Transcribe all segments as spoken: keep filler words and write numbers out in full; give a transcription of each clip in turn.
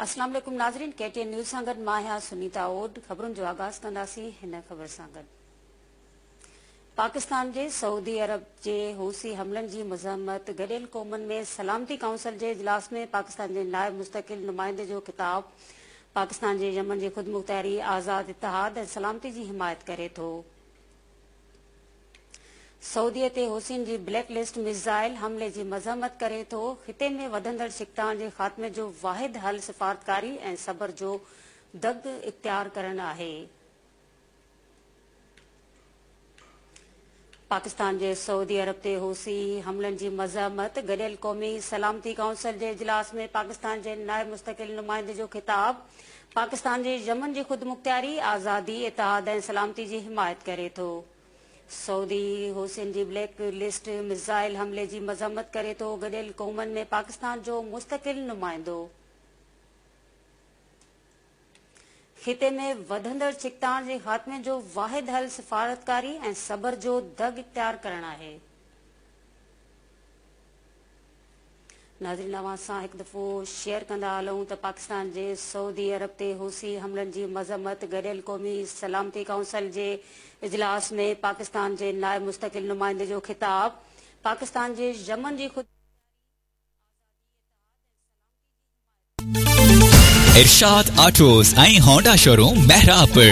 अस्सलाम वालेकुम नाज़रीन, के टी एन न्यूज़ सां गॾु मां आहियां सुनीता ओड। ख़बरुनि जो आगाज़ कंदासीं हिन ख़बर सां गॾु। पाकिस्तान जे सऊदी अरब जे हूसी हमलनि जी मज़म्मत। गॾियल क़ौमनि में सलामती काउंसिल जे इजलास में पाकिस्तान जे नायब मुस्तक़िल नुमाइंदे जो ख़िताब। पाकिस्तान जे यमन जी ख़ुद मुख़्तियारी, आज़ाद इत्तिहाद ऐं सलामती जी हिमायत करे थो। सऊदीअ ते हुसैन जी ब्लैक लिस्ट मिसाइल हमले जी मज़म्मत करे थो। ख़िते में वधंदड़ छिकताण जे ख़ात्मे जो वाहिद हल सिफ़ारतकारी ऐं सब्र जो दग इख़्तियार करणु आहे। पाकिस्तान जे सऊदी अरब ते हूसी हमलनि जी मज़म्मत। गॾियल क़ौमी सलामती काउंसिल जे इजलास में पाकिस्तान जे नायब मुस्तक़िल नुमाइंदे जो ख़िताब। पाकिस्तान जे यमन जी ख़ुद मुख़्तियारी, आज़ादी, इत्तिहाद ऐं सलामती जी हिमायत करे थो। सऊदी हुसैन जी ब्लैक लिस्ट मिसाइल हमले जी मज़म्मत करे थो। गॾियल क़ौमनि में पाकिस्तान जो मुस्तक़िल नुमाइंदो। ख़िते में वधंदड़ छिकताण जे ख़ात्मे जो वाहिद हल सिफ़ारतकारी ऐं सब्र जो दग इख़्तियार करणु आहे। नाज़रीन, अव्हां सां हिकु दफ़ो शेयर कंदा हलूं त पाकिस्तान जे सऊदी अरब ते हूसी हमलनि जी मज़म्मत। गॾियल क़ौमी सलामती काउंसिल जे इजलास में पाकिस्तान जे नायब मुस्तक़िल नुमाइंदे जो ख़िताब। पाकिस्तान जे यमन जी ख़ुद इरशाद ऑटोस ऐं Honda showroom Mehrabpur.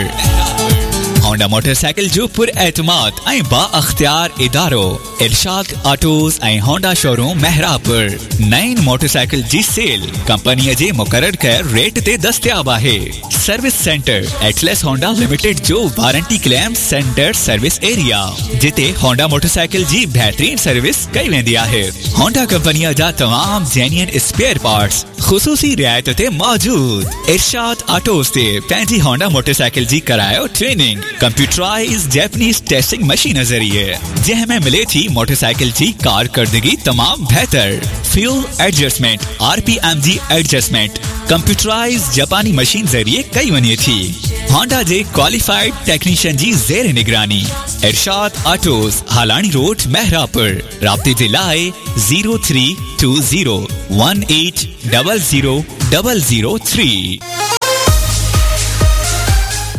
Honda motorcycle जो पुर एतमाद ऐं बा अख्तियार इदारो इरशाद ऑटोस ऐं होंडा शोरूम मेहराबपुर। नईं मोटरसाइकिल जी सेल कंपनीअ जे मुक़ररु कयल रेट ते दस्तियाब आहे। Service centre Atlas Honda limited जो warranty claim centre service area, जिते होंडा मोटरसाइकिल जी बहितरीन सर्विस कई वेंदी आहे। होंडा कंपनीअ जा तमाम जेन्युइन स्पेयर पार्ट्स ख़ुसूसी रिआयत ते मौजूद। इरशाद ऑटोस ते पंहिंजी होंडा मोटरसाइकिल जी करायो training computerise Japanese testing machine ज़रिए, जंहिं में मिले थी मोटरसाइकिल जी कारकर्दगी तमाम बेहतर। फ्यूल एडजस्टमेंट, आरपीएम जी एडजस्टमेंट कंप्यूटराइज जापानी मशीन ज़रिए कई वञे थी। होंडा जे क्वालिफाइड टेक्नीशियन जी ज़ेर निगरानी। इरशाद ऑटोस, हालानी रोड, मेहराबपुर। राब्ते जे लाइ zero three two zero one eight double zero double zero three.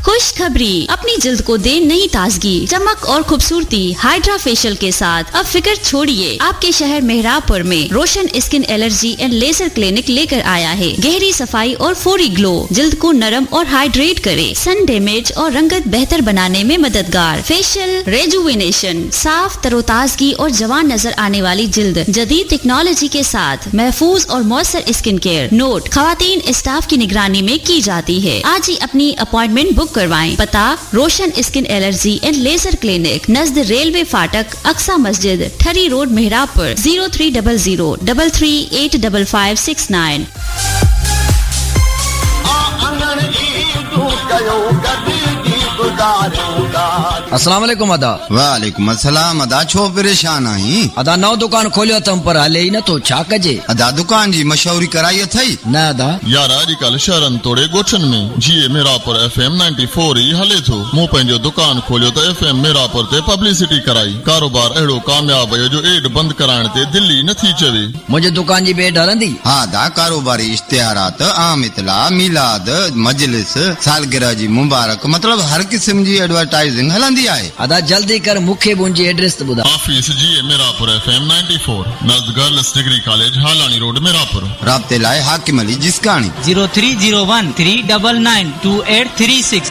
खुशखबरी, अपनी जिल्द को दे नई ताजगी, चमक और खूबसूरती हाइड्रा फेशियल के साथ। अब फिक्र छोड़िए, आपके शहर मेहराबपुर में Roshan skin allergy and laser clinic लेकर आया है। गहरी सफाई और फौरी ग्लो, जिल्द को नरम और हाइड्रेट करे, सन डैमेज और रंगत बेहतर बनाने में मददगार। फेशियल रेजुविनेशन, साफ तरोताजगी और जवान नजर आने वाली जिल्द, जदीद टेक्नोलॉजी के साथ महफूज और मौसर स्किन केयर। नोट, खवातीन स्टाफ की निगरानी में की जाती है। आज ही अपनी अपॉइंटमेंट बुक करवाएं। पता, Roshan skin allergy and laser clinic, नज़द रेलवे फाटक, अक्सा मस्जिद, Thari road, Mehrabpur. Zero three double zero double three eight double five six nine. अस्सलाम वालेकुम अदा। वालेकुम अस्सलाम अदा। छो परेशान आहीं? अदा नओं दुकान खोलियो अथम पर हले ई नथो, छा कजे? अदा दुकान जी मशहूरी कराई अथई? न अदा। यार अॼुकल्ह शहरनि तोड़े ॻोठनि में जीए मेहराबपुर एफ एम चौरानवे ई हले थो। मूं पंहिंजो दुकान खोलियो त एफ एम मेहराबपुर ते पब्लिसिटी कराई। कारोबार अहिड़ो कामयाब वियो जो एड बंदि कराइण ते दिलि ई नथी चवे। मुंहिंजी दुकान जी बि एड हलंदी? हा अदा, कारोबारी इश्तिहारात, आम इतला, मीलाद, मजलिस, सालगिरह जी मुबारक, मतलब हर क़िस्म जी एडवर्टाइजिंग हलंदी आहे। अदा जल्दी कर, मूंखे बि उनजी एड्रेस त ॿुधाए। ऑफिस जीए मेहराबपुर एफ एम चौरानवे, नज़द girls degree college, Halani road, Mehrabpur. राब्ते लाइ Hakim Ali Jiskani. Zero three zero one three double nine two eight three six.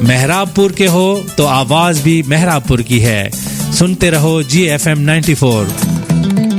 Mehrabpur के हो तो आवाज भी मेहराबपुर की है। सुनते रहो जी एफ एम चौरानवे।